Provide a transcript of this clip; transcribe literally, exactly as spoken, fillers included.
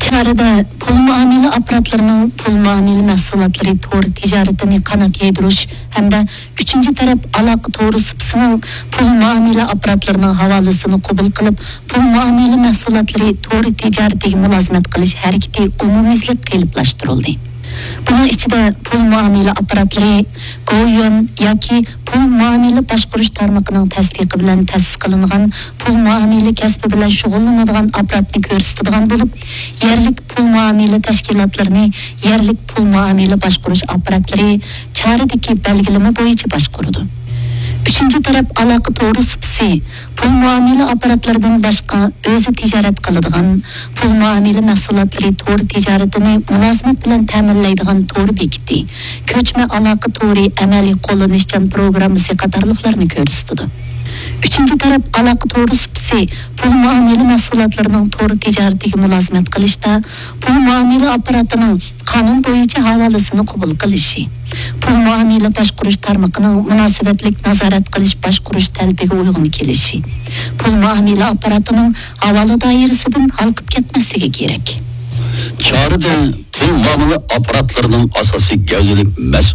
چارىدە پۇل مۇئامىلە ئاپپاراتلىرىنىڭ پۇل مۇئامىلە مەھسۇلاتلىرى تور تىجارىتىنى قانات يايدۇرۇش ھەمدە ئۈچىنچى تەرەپ ئالاقە تورى سۇپىسىنىڭ پۇل مۇئامىلە ئاپپاراتلىرىنىڭ ھاۋالىسىنى قوبۇل قىلىپ، پۇل مۇئامىلە مەھسۇلاتلىرى تورى تىجارىتىگە مۇلازىمەت قىلىش ھەرىكىتى ئومۇميۈزلۈك قېلىپلاشتۇرۇلدى. بۇنىڭ ئىچىدە پۇل مۇئامىلە ئاپپاراتلىرى، گويۈەن ياكى پۇل مۇئامىلە باشقۇرۇش تارمىقىنىڭ تەستىقى بىلەن تەسىس قىلىنغان پۇل مۇئامىلە كەسپى بىلەن شۇغۇللىنىدىغان ئاپپاراتنى كۆرسىتىدىغان بولۇپ، يەرلىك پۇل مۇئامىلە تەشكىلاتلىرىنى يەرلىك پۇل مۇئامىلە باشقۇرۇش ئاپپاراتلىرى چارىدىكى بەلگىلىمە بويىچە باشقۇرىدۇ. ئۈچىنچى تەرەپ ئالاقە تورى سۇپىسى پۇل مۇئامىلە ئاپپاراتلىرىدىن باشقا ئۆزى تىجارەت قىلىدىغان، پۇل مۇئامىلە مەھسۇلاتلىرى تور تىجارىتىنى مۇلازىمەت بىلەن تەمىنلەيدىغان تور بېكىتى، كۆچمە ئالاقە تورى ئەمەلىي قوللىنىشچان پروگراممىسى قاتارلىقلارنى كۆرسىتىدۇ. ئۈچىنچى تەرەپ ئالاقە تورى سۇپىسى پۇل مۇئامىلە مەھسۇلاتلىرىنىڭ تور تىجارىتىگە مۇلازىمەت قىلىشتا پۇل مۇئامىلە ئاپپاراتىنىڭ قانۇن بويىچە ھاۋالىسىنى قوبۇل قىلىشى، پۇل مۇئامىلە باشقۇرۇش تارمىقىنىڭ مۇناسىۋەتلىك نازارەت قىلىش باشقۇرۇش تەلىپىگە ئۇيغۇن كېلىشى، پۇل مۇئامىلە ئاپپاراتىنىڭ ھاۋالە دائىرىسىدىن ھالقىپ كەتمەسلىكى كېرەك. چارىدە پۇل مۇئامىلە ئاپپاراتلىرىنىڭ ئاساسىي گەۋدىلىك مەسئۇل